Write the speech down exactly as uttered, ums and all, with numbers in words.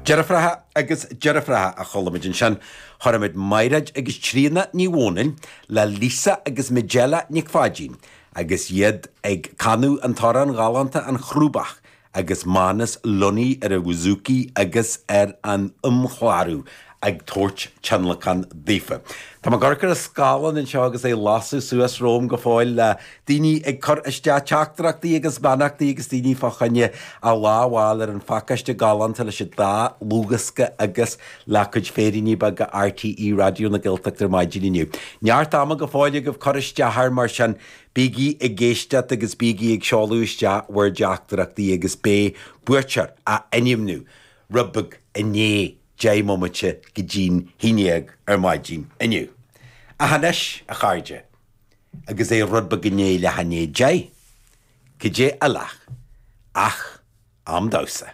Deirfiúracha agus deirfiúracha a chuala muid ansin, chuala muid Maighread agus Tríona Ní Mhónain le Lisa agus Majella Nic Pháidín agus iad ag canadh an t-amhrán galánta An Chrúbach agus Manus Lunny ar an bhouzouki agus ar an amchlárú ag tabhairt tionlacan daofa. Tá mé ag amharc ar an scáileán anseo agus é ag lasadh suas romham go fóill le daoine ag cur isteach teachtaireachtaí agus beannachtaí agus daoine fá choinne a lá a fháil ar an phacáiste galánta leis an dá dhlúthdhiosca agus le cuid féiríní beaga RTÉ Raidió na Gaeltachta ar maidin inniu. Neart ama go fóill agaibh cur isteach air mar sin bígí ag éisteacht agus bígí ag seoladh isteach bhur dteachtaireachtaí agus beidh buaiteoir á ainmniú rud beag i ndiaidh deich mbomaite go dtí'n haon déag ar maidin inniu. Ach anois, a chairde, agus é rud beag i ndiaidh leath i ndiaidh deich, cad é eile ach am damhsa.